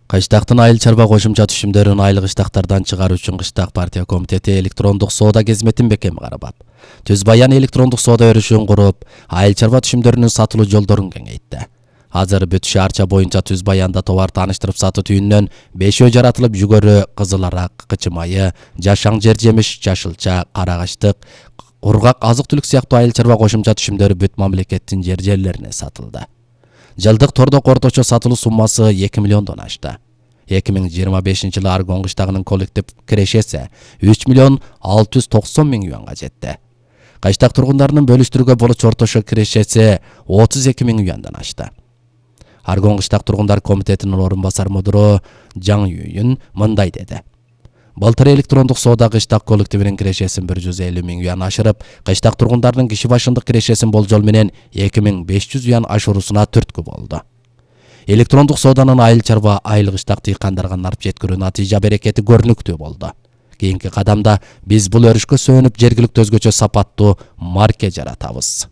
Кыштактын айыл чарба кошумча түшүмдөрүн айыл кыштактардан чыгаруу үчүн Кыштак партия комитети электрондук соода кызметин бекем карабап, Түз Баян электрондук соода өрүшүн куруп, айыл чарба түшүмдөрүнүн сатылуу жолдорун кеңейтти. Азыр бүт шаарча боюнча Түз Баянда товар тааныштырып сатуу түйүнүнөн бешөө жаратылып, жүгөрү, кызыл арак, кычы майы, жашаң жер жемиш, жашылча, карагаштык, кургак азык-түлүк сыяктуу айыл чарба кошумча түшүмдөрү бүт мамлекеттин жерлерине сатылды. Жылдык тордок орточо сатылуу суммасы 2 миллиондон ашты. 2025-жылы Аргон кыштагынын коллектив кирешеси 3 миллион 690 миң юанга жетти. Кыштак тургундарынын бөлүштүрүүгө болчу орточо кирешеси 32 миң юандан ашты. Аргон кыштак тургундар комитетинин орун басар мудуру Жаң Юйүн мындай деди. Былтыр электрондук соода кыштак коллективинин кирешесин 150 миң юан ашырып, кыштак тургундарынын киши башындык кирешесин болжол менен 2500 юан ашуурусуна түрткү болду. Электрондук сооданын айыл чарба, айыл кыштак дыйкандарга нарп жеткирүү натыйжа берекети көрүнүктүү болду. Кийинки кадамда биз бул өрүшкө сөөнүп жергиликтүү өзгөчө сапаттуу марке жаратабыз.